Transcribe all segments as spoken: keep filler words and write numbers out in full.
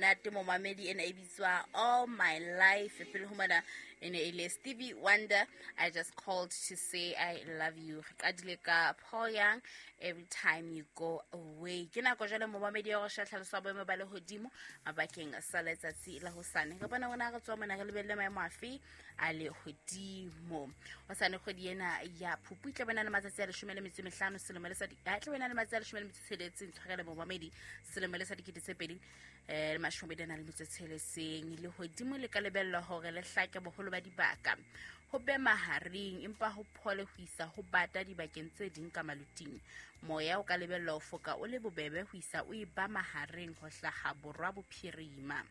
monate momamedi ena e bitswa All My Life. Pele ho mona e ne e le Stevie Wonder, I Just Called to Say I Love You. Re qadile ka Paul Young, Every Time You Go Away. Ke nako jwale momamedi ya go tlhalosa boemo ba lehodimo mabakeng sa letsatsi la hosane. Re bona rona re tswa mona re lebelle maemo afe a lehodimo. Hosane kgwedi ena ya Phupu e tla bana le matsatsi a leshome le metso e mehlano selemo le sa di a tla bana le matsatsi a leshome le metso e tsheletseng tshwarele momamedi selemo le sa dikete tse pedi eh le mashome a le metso e tsheletseng. Lehodimo le ka lebellwa hore le hlake boholo ba dibaka ho be mahareng empa ho phole ho isa ho bata dibakeng tse ding ka maluting. Moya o ka lebellwa ho foka o le bobebe ho isa o e ba mahareng ho hlaha borwa bophirima.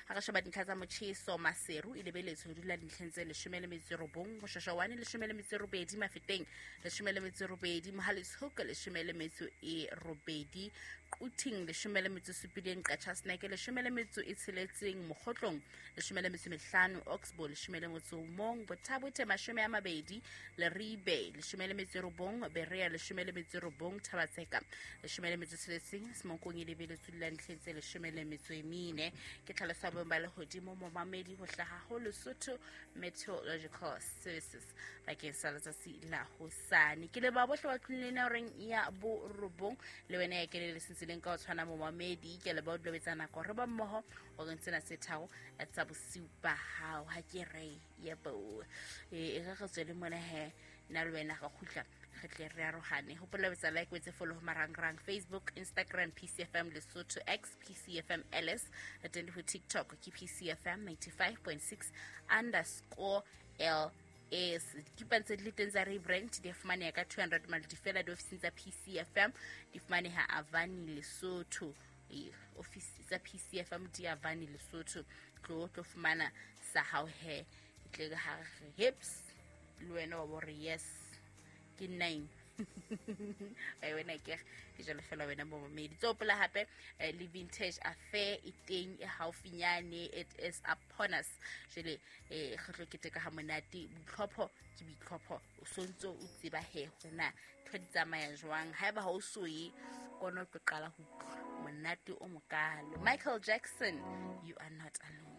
Ha re sheba dintlha tsa motjheso, Maseru e lebeletswe ho dula dintlheng tse leshome le metso e robong, Moshoeshoane leshome le metso e robedi, Mafeteng leshome le metso e robedi, Mohale's Hoek leshome le metso e robedi, Quthing leshome le metso e supileng, Qacha's Nek leshome le metso e tsheletseng, Mokhotlong leshome le metso e mehlano, Oxbow leshome le motso o mong, Botha-Bothe mashome a mabedi, Leribe leshome le metso e robong, Berea leshome le metso e robong, Thaba-Tseka leshome le metso e tsheletseng, Semonkong e lebeletswe ho dula dintlheng tse leshome le metso e mene. Ke tlhaloso ya boemo ba lehodimo momamedi ho hlaha ho Lesotho Meteorological Services bakeng sa letsatsi la hosane. Ke leboha bohle ba tlileng horeng ya borobong le wena ya kene le sentsileng ka ho tshwana momamedi. Ke leboha o dulobetsa nako re ba mmoho horeng tsena tse tharo tsa bosiu ba hao. Ha ke re yebo e re re tswele mona he nna le wena re kgutla re tle re arohane. Hopola ho etsa like, o etse follow ho marangrang Facebook, Instagram P C F M Lesotho, X P C F M L S, re teng le ho TikTok ke P C F M ninety-five point six underscore L S. Dikipa tse di le teng tsa rebrand di fumaneha ka two hundred maloti fela diofising tsa P C F M, di fumaneha Avani Lesotho. E, office tsa P C F M di Avani Lesotho. Tlo tlo fumana sa hao he tle ha re hips le wena wa bo re yes ke nine. Ai wena ke ke jalo fela wena momamedi. Tsopola hape eh, le vintage affair e teng e haufinyane, it is upon us. Jwale eh re tlo keteka ha monate. Boitlhopho ke boitlhopho, o sontso o tseba he hore na ntho di tsamaya jwang. Haeba ha o so ye kono tlo qala ho utlwa monate o mokalo. Michael Jackson, You Are Not Alone.